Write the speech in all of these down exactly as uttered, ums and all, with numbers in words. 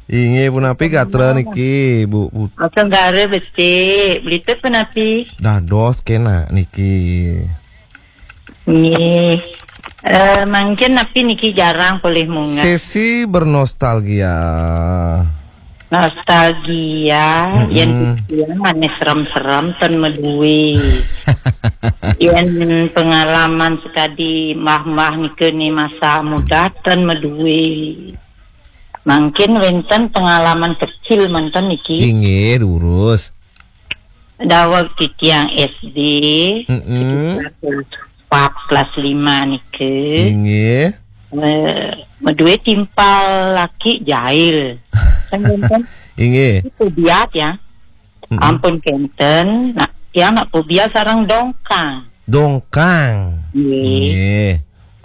Inggih punapi gatra niki, Bu Put- Tenggara becik, Blitar punapi? Dados kena niki. Nggih. Eh, mangkin napi niki jarang polih munggah. Sesi bernostalgia. Nostalgia, mm-mm, yen titiang ané serem-serem ten madue. Yen pengalaman sekadi mbah-mbah nika ni masa muda ten madue. Mangkin wénten pengalaman kecil manten niki. Inggih, durus. Daweg titiang S D, mm-mm, sekitar kelas empat, kelas lima nika. Inggih. Eh, madue timpal laki jail. Kan wénten? Inggih. Itu biat ya. Mm-mm. Ampun kenten, nak tiang nak pobia sareng dongkang. Dongkang. Nggih. Nggih.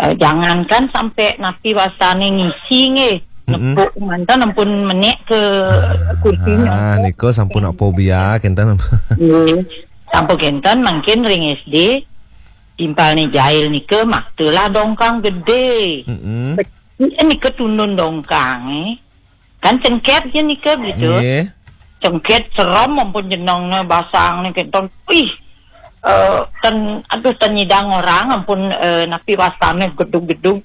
Eh, jangankan sampai napi wasane ngisi nggih. Mm-mm. Nepuk manten ampun menek ke kursinya. Ah, nika sampun nak pobia kenten. Nggih. Sampun kenten mangkin ring S D timpalne jail nika maktalah dongkang gede. Mm-mm. Nika tundun dongkang eh. Kan cengket je nika begitu. Nggih. Cengket serem ampun jenengne basang ni kenten. Ih, eh, ten, aduh, ten nyidang orang ampun, eh, napi wasane gedug-gedug.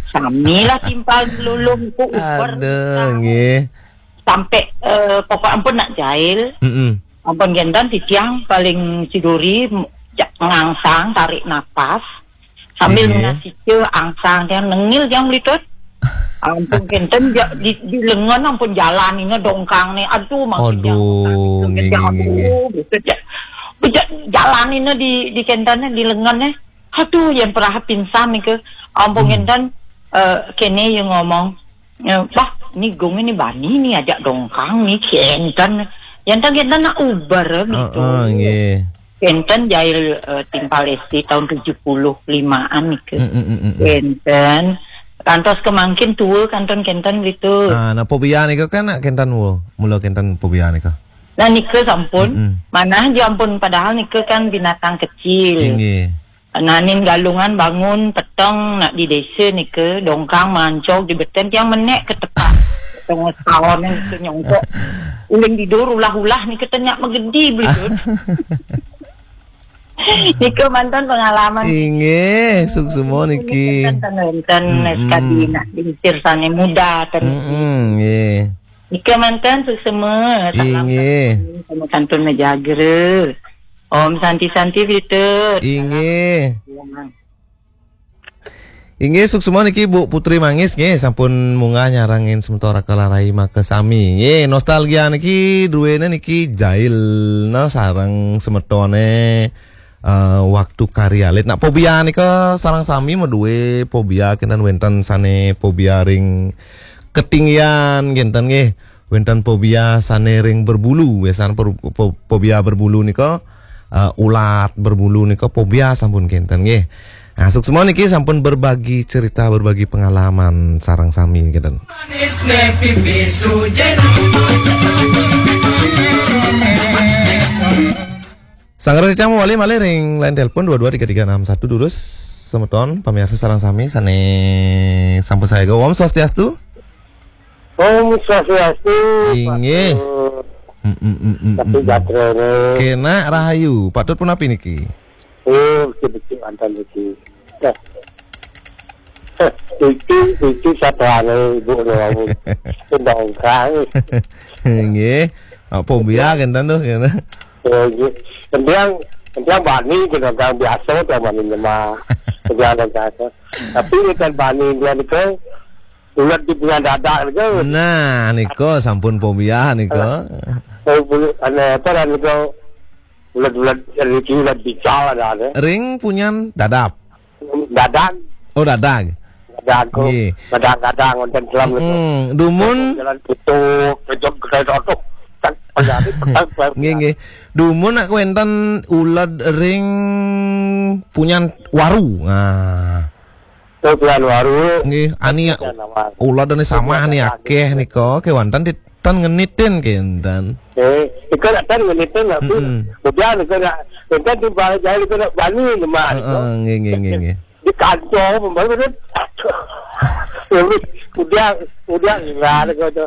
Samilah timpal lulung ku uber. Aduh, nggih. Sampai, eh, pokok ampun nak jail. Mm-mm. Ampun kenten titiang paling siduri, m-, ja-, ngangsang tarik napas. Sambil, nggih, ngasih ke angsang tiang nengil tiang melitut. Ampun kenten ja-, di, di lengan ampun jalanina dongkang ni. Aduh, makin aduh, jauh. Nggih, nggih, nggih, nggih. Aduh, betul ja-, beja-, jalanina di, di kenten di lengan ni. Aduh, yang perah pingsan ni ke. Ampun, hmm, kenten, eh, kene yang ngomong. Eh, bah, ni gong ni bani ni ajak dongkang ni kenten. Yang tak kenten nak uber begitu. Heeh, nggih. Kenten jail, eh, timpal S D tahun tujuh puluh limaan nika. Mm, mm, mm, mm, mm. Kenten. Kantos kemangkin tua kenten-kenten gitu. Ah, nah, pobia nika kan nak kenten wo. Mula kenten pobia nika. Nah, nika sampun. Mm, mm. Manah ja ampun, padahal nika kan binatang kecil. Inggih. Nanin galungan bangun peteng nak di desa nika, dongkang mancog di beten tiang menek ke tepak. Tengah setahun nika nyongkok. Uling tidur ulah-ulah nika tenyak megedi begitu. Nika mantan pengalaman. Inggih, suksema niki. Enten, enten, mm-mm, sekadi nak diusir sane muda, ten. Mm-mm, nggih. Nika mantan suksema. Salam, inggih, sama santun mejagra. Om Santi Santi Britut. Inggih. Salam. Inggih, suksema niki Bu Putri Mangis nggih, sampun munggah nyarengin semeton Raka Larai makasami. Nggih, nostalgia niki duwene niki jail nah sareng semetone, eh, waktu kari alit. Nak pobia nika sareng sami madue pobia kenten wenten sane pobia ring ketinggian kenten nggih. Wenten pobia sane ring berbulu, biasane per-, po-, pobia berbulu nika, eh, ulat berbulu nika pobia sampun kenten nggih. Nah, suksema niki sampun berbagi cerita, berbagi pengalaman sareng sami kenten. Manis ne pipi sujen. Sanggra titiang mawali malih ring line telepon dua dua tiga tiga enam satu, durus semeton pamiarsa sareng sami sane sampun sayaga. Om Swastiastu. Om Swastiastu. Inggih. Patut. Mm, mm, mm, mm, tapi mm, mm. Gatrane. Kena rahayu. Patut punapi niki? Oh, becik-becik mantan niki. Dah. Iki, iki satwane ibu no. Undang-undang. Nggih. Apa biar kenten tuh, kenten. Oh, nggih. Kentiang, kentiang bani, kentiang biasa, kentiang bani nyema. Kentiang biasa. Tapi kan bani dia nika, ulat di punya dadak nika. Nah, nika sampun pobia nika. Oh, bulu, ane apa lah nika? Ulat-ulat, rezeki ulat bical ada, ada. Ring punyan dadap. Dadang. Oh, dadag. Dadang ko. Nggih. Dadang-dadang wonten dalam niku. Mm-mm. Dumun. Jalan putu, pejok gedhe otoh. Tak pejari petang. Nggih, nggih. Dumun nak wenten uled ring punyan waru. Nah. Oh, punyan waru. Nggih, ani uled ane samah ni akeh nika, kewanten di tan ngenitin kenten. Eh, nika nak tan ngenitin, tapi mm-mm. Kemudian nika nak, nika di bawah jalan nika nak bani lemak nika. Heeh, nggih, nggih, nggih, nggih. Di kantor pembaru kan. Udah, udah, udah, nggak ada kata.